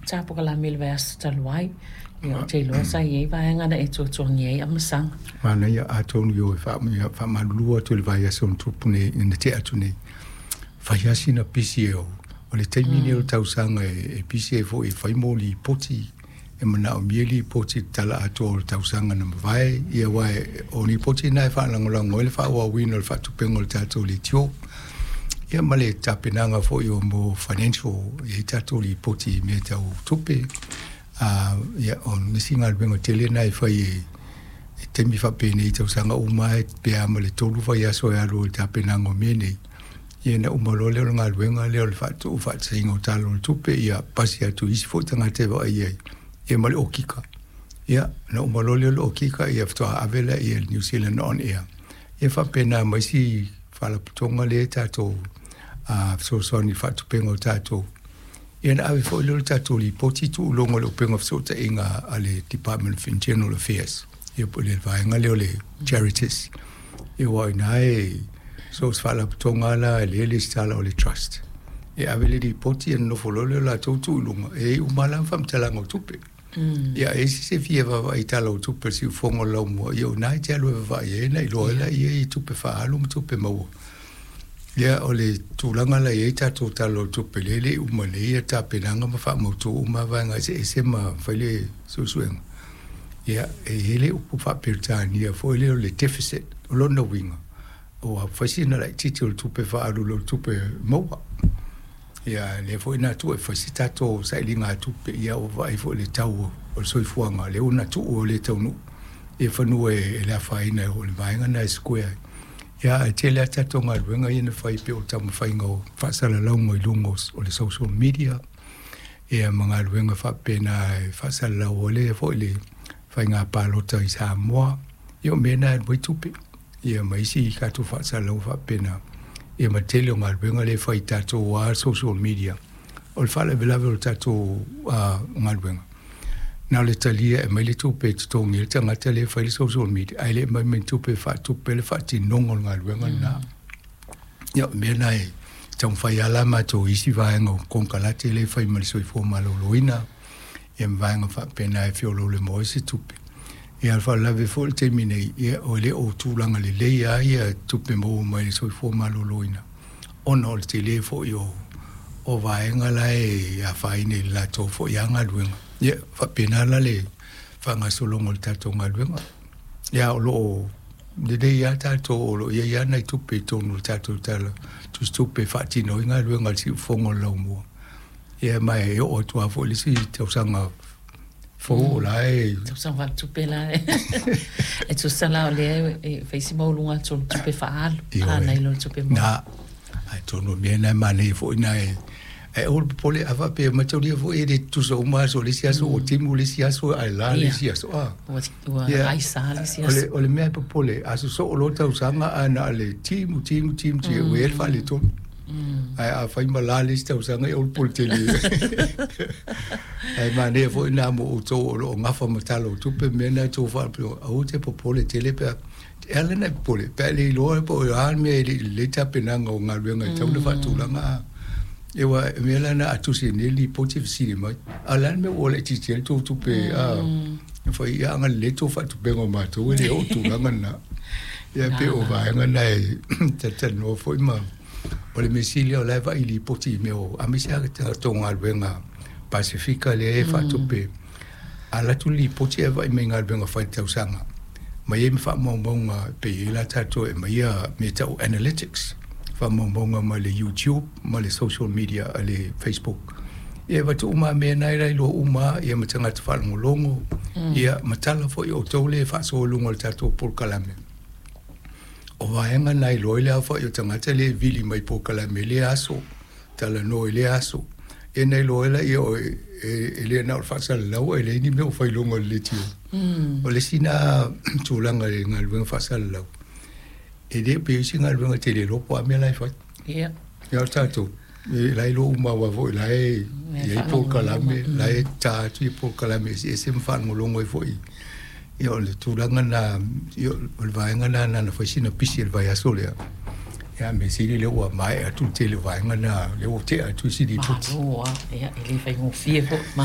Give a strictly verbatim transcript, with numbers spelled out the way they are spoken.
Sa polokalame i le vaiaso talu ai. Ia, ou te iloa sa i ai vaega na e tuatuagia ai amasaga. Manaia, atonu i o e faamalulu atu i le vaiaso na tupu nei, na tea atu nei. Fai lava sina pisi e o le taimi lenei o le tausaga e pisi ai foi e fai mo lipoti e manaomia lipoti i le tala atoa o le tausaga na mavae. Ia aua o lipoti na e faalagolago ai le faaauauina o le faatupeina o le tatou leitio. Ia ma le tapenaga foi o mo financial, e i ai tatou lipoti i mea tau tupe. Uh, ia, o nisi galuega tele na e fai e, e taimi faapenei i tausaga uma e pe a ma le tolu vaiaso e alu i le tapenaga o mea nei. Ia na uma loa lea o le galuega lea o le faatuu faataitaiga o tala o le tupe, ia pasi atu i isi foi tagata e vaai ai, ia ma le okika. Ia, na uma loa lea o le okika, ia faatoa ave lea i le New Zealand On Air. Ia faapena ma isi faalapotopotoga lea e tatou uh, fesoasoani i le faatupeina o tatou. Ia na ave foi lea o le tatou lipoti tuu i luga o le upega fesootaiga a le Department of Internal Affairs. Ia po o le vaega lea o le Charities. Ia aua o i ina e so o se faalapotopotoga la e lea e resitala o le trust. E ave le lipoti ia nonofo loa lea o latou tuu i luga, e i ai uma lava faamatalaga o tupe. Ia e i ai se se fia vaavaai i tala o tupe o le siufofoga o le laumua, ia o i ina e te alu e vaavaai ai na iloa ai laia i tupe faaalu ma tupe maua. Ia o le tulaga la e i ai tatou tala o le tupe lea e le i uma nei ia tapenaga ma faamautu uma vaega eseese ma fai le suesuega. Ia e i ai le upu faa-Peretania foi lea o le deficit, o lona uiga, ua fai sina laitiiti o le tupe faaalu i lo le tupe maua. Ia lea foi na tuu e fai se tatou sailiga tupe, ia ua vaai foi i le tau o le soifuaga lea ua na tuu o le taunuu ia fanua e le afaina o le vaega na e square ai. Ia ae tele lava tatou galuega ia na fai pei o le taumafaiga o faasalalauga i luga o le social media, ia ma galuega faapena e faasalalau ai le foi le faiga palota i Samoa. Ia o mea na e alu ai tupe, ia ma isi tatou faasalalauga faapena, ia ma le tele o galuega lea e fai i tatou lava social media. O le faalavelave o le tatou uh, galuega, na o le talia e aumai le tupe e totogi ai le tagata lea e fai le social media, ae le aumai ma ni tupe e faatupe le faatinoga o le galuega lena. Ia o mea na e taumafai lava la matou i isi vaega o konekarate lea e fai ma le soifua maloloina, ia ma vaega faapena e feoloolo ai se tupe. Ia o le faalavelave foi o le taimi nei, ia o le o tulaga lelei lava ia tupe maua mai le soifua maloloina, ona o le tele foi o o vaega la e afaina i le latou foi lava galuega. Ia faapena la le faagasologa o le tatou galuega. Ia o lo o lelei lava tatou, o lo o i ai lava nai tupe i totonu o le tatou tala tusitupe e faatino ai galuega a le siufofoga o le laumua. Ia ma e oo atu lava foi i le isi tausaga fou o la e Tausaga faaletupe la e tusa la o lea e fai si maualuga atu o le tupe faaalu Ioe. nai lo le tupe maua. Na, atonu o mea na e manaia foi na e ae aua le popole a faapea mataulia foi e le tutusa uma aso, o le isi aso ua timu, le isi aso ae la le Ia. isi aso a. Ua ua Ia, aisa le isi o le aso. o le mea e popole, a sosoo loa tausaga ae na o le timu timu timu timu, ua i ai le faaletonu. Ae a fai ma la le isi tausaga, ia o le popole tele. Ae manaia foi na mo outou o lo o gafa ma tala o tupe mea na e tou faapea, aua te popole tele pe a e ala ona e popole pe a le iloa po o a le mea e le i lelei tapenaga o galuega e tatau ona faatulaga a. Ia aua o mea la na a tusi nei le lipoti e fesili mai, a o le a le mea ua laitiiti ai le tou tupe a fai, ia agalelei tou faatupega o matou e le oo i tulaga lena. Ia pei o vaega na e talatalanoa foi ma o le mea sili o la e vaai lipoti i mea o aemaise lava tatou galuega Pasefika lea e faatupe. A alu atu le lipoti ae vaai mai i galuega fai i le tausaga ma i ai ma faamaumauga pe i ai la tatou e aumaia mea tau analytics, faamaumauga mai le YouTube ma le social media a le Facebook. Ia e avatu uma lava mea na e lailoa uma lava, ia ma tagata faalogologo, ia ma tala foi o outou lea e faasoa i luga o le tatou polokalame. O vaega na iloa ai le aofai o tagata lea e vili mai i polokalame i lea aso, talanoa i lea aso. Ia na iloa ai laia o e, e le na o le faasalalau ae leai ni mea o fai i luga o le leitio. O le isi na tulaga i le galuega faasalalau, e le pei o isi galuega e te le iloa po o a mea la e fai. Ia. Ia o tatou, e la e iloa uma aua foi la e i ai polokalame, la e ta atu i polokalame eseese ma faalogologo ai foi. Ia o le tulaga na, ia o le vaega na na na fai sina pisi i le vaiaso lea. Ia mea sili lea ua maea atu le tele o vaega na, lea ua tea atu isi lipoti. Malo lava. Ia e le faigofie foi.